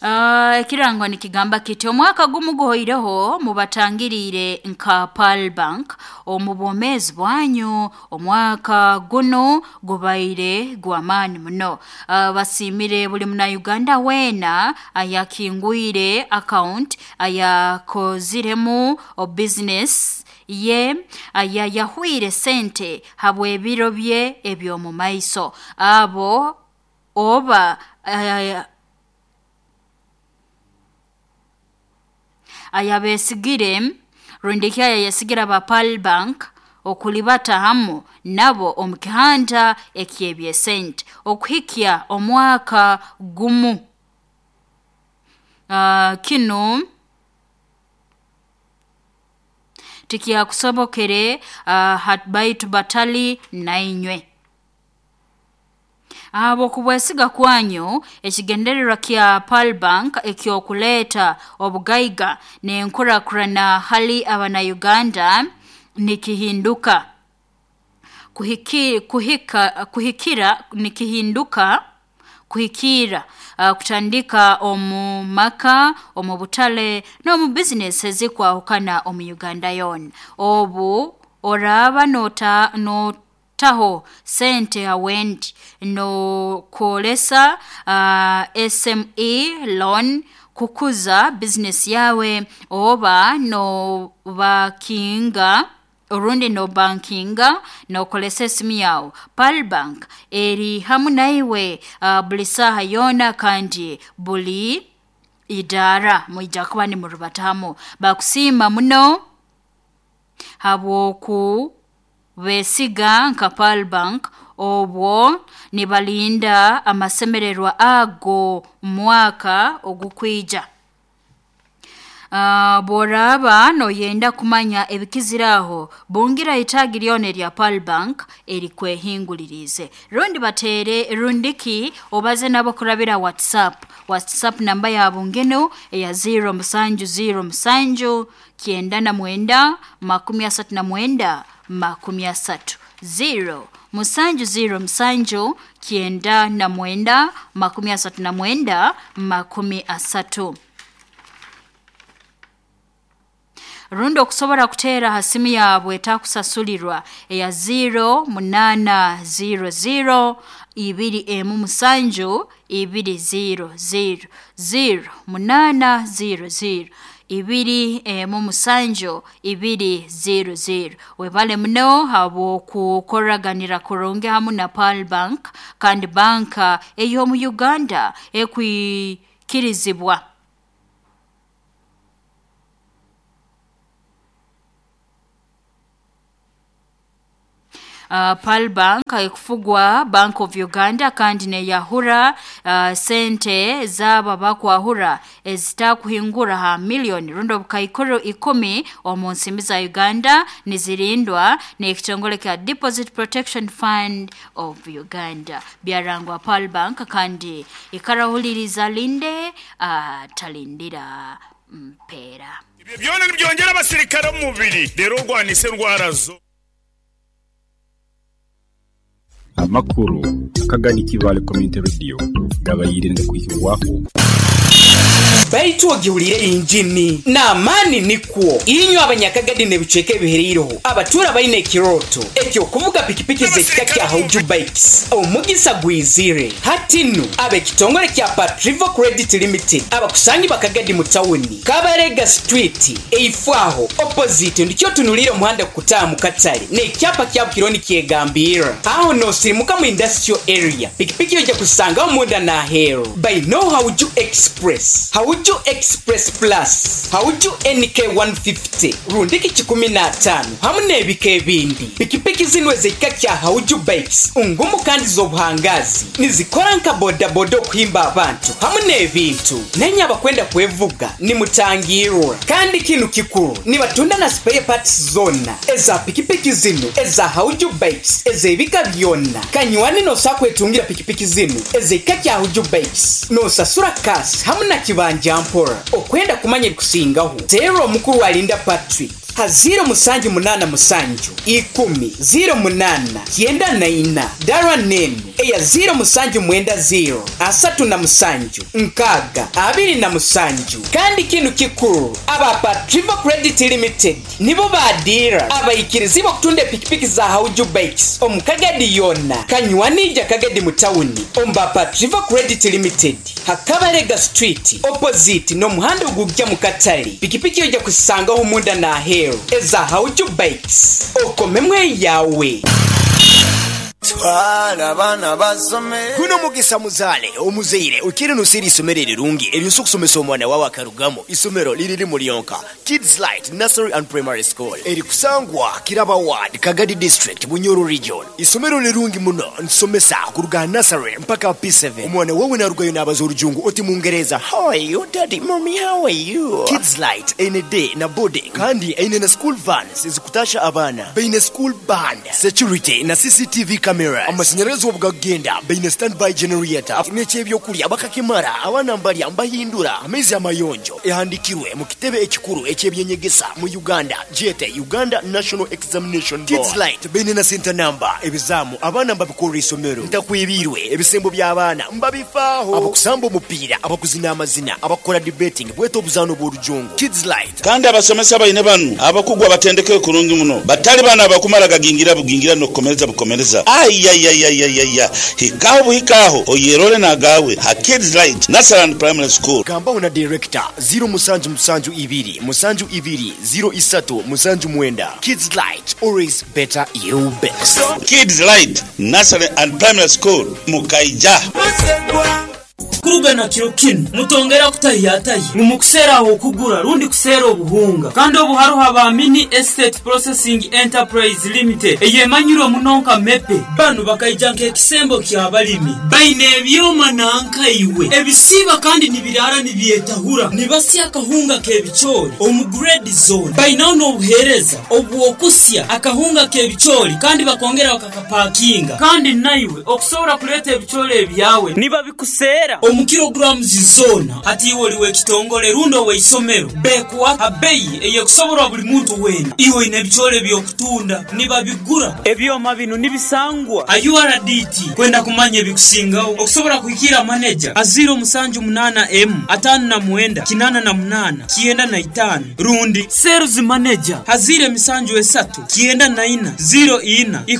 Ekirango nikigamba kiti omwaka gumu guhoireho mubatangiriire nka Pearl Bank omu bwomeezi bwanyu. Omwaka gunu gubaire gw'amaani muno. Basiimire buli Munauganda weena ayakingwire account, ayakoziremu business ye, ayayahwire sente habw'ebiro bye eby'omu maiso. Abo oba ayabesigire rundi ki ayayesigire aba Pearl Bank okulibata hamu nabo omu kihanda eky'ebyesente okuhikya omwaka gumu. Kinu tikyakusobokere baitu batali nainywe. Habw'okubwesiga kwanyu, ekigendererwa kya Pearl Bank eky'okuleeta obugaiga n'enkurakurana hali Abanauganda nikihinduka. Kuhika nikihinduka kuhikiira kutandika omu maka, omu butale n'omu bizinesi ezikwahukana omu Uganda yoona. Obu oraaba notaho sente ha wendi nookozesa SME loan kukuza bizinesi yawe oba nobankinga orundi nobankinga nookozesa esimu yawe, Pearl Bank eri hamu naiwe buli saaha yoona kandi buli idaara mwija kuba nimurubata hamu. Bakusiima muno habw'okubesiga nka Pearl Bank obwo nibalinda amasemererwa ago mwaka ogukwija. Bworaaba noyenda kumanya ebikizire aho, bungira itaagi ryona erya Pearl Bank erikwehinguliriize. Rundi bateere rundi ki obaze nabo kurabira WhatsApp. WhatsApp namba yabo nginu eya 0707 99 39 30. 0 707 99 39 30. Rundi okusobora kuteera ha simu yaabwe etakusasulirwa eya 0800 27 200 0800 27 200. Webale muno habw'okukoraganira kurungi hamu na Pearl Bank kandi banka ey'omu Uganda ekwikirizibwa. Pearl Bank ekufugwa Bank of Uganda kandi neyahura sente z'abo abakwahura ezitakuhingura ha millioni rundi obukaikuru 10 omu nsimbi za Uganda nizirindwa n'ekitongole kya Deposit Protection Fund of Uganda. Byarangwa Pearl Bank kandi ikarahuliriza linde atalindira mpeera. Ebyo byona nibyongyera abasirikare omu mubiri reero orwanise endwara zo. Amakuru akagani Kibaale Community Radio gabaire nigakwihibwaho. Baitu ogihuliire yingini n'amaani nikwo. Inywe Abanyakagadi n'ebicweka ebihereireho abatuura baine ekirooto eky'okuvuga pikipiki z'ekika kya Hauju Bikes, omugisa gwizire. Hati nu, ab'ekitongore kya Patrivo Credit Limited abakusangibwa Kagadi mu tawuni, Kabarega Street, eifo aho, opposite, ndikyo otunuliire omuhanda gukutaaha mu katale n'ekyapa kyabo kiriho nikyegambirra. Aho n'osirimuka mu Industrial Area, pikipiki oija kuzisangaho munda n'aheeru. Baineo Hauju Express, Hauju Express Plus, Hauju NK 150 rundiki kikumi n'ataano hamu n'ebika ebindi. Pikipiki zinu ez'ekika kya Hauju Bikes ngumu kandi z'obuhangaazi. Nizikora nka bodaboda okuhimba abantu hamu n'ebintu. Nainye abakwenda kwevuga nimutangirwa. Kandi kinu kikuru, nibatunda na spare parts zoona eza pikipiki zinu eza Hauju Bikes ez'ebika byona. Kanywani nosobola kwetungira pikipiki zinu ez'ekika kya Hauju Bikes nosasura cash hamu na kibanja mpora. Okwenda kumanya ebikusingaho, teera omukuru Alinda Patrick ha ziiro musanju munaana musanju, ikumi, ziiro munaana, kyenda na ina. Dara n'enu. Eya 0790 37 60 27. Kandi kinu kikuru, aba Patriva Credit Limited nibo badiira abaikirizibwa okutunda epikipiki za Hauju Bikes omu Kagadi yona. Kanywanija Kagadi mu tawuni omu ba Patriva Credit Limited, Hakabalega Street opposite n'omuhanda ogujja mu katale. Pikipiki ojja kusangaho munda n'aheeru eza Hauju Bikes, okomemu eyawe. Twala abaana basome. Guno mugisa muzaale omuzaire okiire noseera eisomero erirungi eryosobola okusomesa omwana wawe akarugamu. Isomero liri limu lyonka, Kids Light Nursery and Primary School, eri kusangwa Kiraba Ward, Kagadi District, Bunyoro Region. Isomero lirungi muno, nsomesa kuruga nursery mpaka P7. Omwana wawe narugayo nabaza orujungu oti Mungereza. How are you daddy, mommy, how are you? Kids Light eine day na boarding, kandi eine na school vans ezikutasha abaana, baine school band, security na CCTV cameras. Amashanyarazi obugagenda baine standby generator, n'ekyebyokulya bakakimara, abaana mbalya mbahindura, amaizi amayonjo. Ehandikirwe mu kitebe ekikuru ekyebyenyegesa mu Uganda, jete Uganda National Examination Board. Kids Light baine na center number, ebizamu abaana mbabikorera isomero, ntakwebirwe ebisembo by'abaana mbabifaaho, abakusamba omupiira, abakuzina amazina, abakukora debating, bweta obuzaano bw'orujungu. Kids Light. Kandi abasomesa baine banu abakugu abatendekere kurungi muno, batali bana abakumara gagingira bugingira n'okukomereza bukomereza. Ayayayayaya, hikaho buhikaho oyerole nagawe ha Kids Light Nursery and Primary School. Gambaho na director 0772 72 03 79. Kids Light, always better you best. Kids Light Nursery and Primary School, Mukaija. Kuruga kiro kinu mutongera kutahiyatahi mumukuseera aho okugura rundi kuseera obuhunga, kandi obu hariho aba Mini Estate Processing Enterprise Limited eyemanyirwe muno nka Mepe. Banu bakaija nk'ekisembo ky'abalimi, baine ebyoma nankaiwe ebisiiba kandi nibirara nibyetahura, nibasya akahunga k'ebicoori omu grade zone. Bainaho n'obuheereza obw'okusya akahunga k'ebicoori kandi bakongera bakakapakinga, kandi naiwe okusobora kuleeta ebicoori ebyawe nibabikuseera omu kilograms zona. Hati iwe oli w'ekitongole rundi ow'eisomero, bekuwa abeyi eyekusoborwa buli muntu weena. Iwe oine ebicoori eby'okutunda, nibabigura. Ebyoma binu nibisangwa a URDT. Kwenda kumanya ebikusingaho okusobora kuhikira maneja a 078 M 59 88 95 rundi sales manager a 073 94 04 10.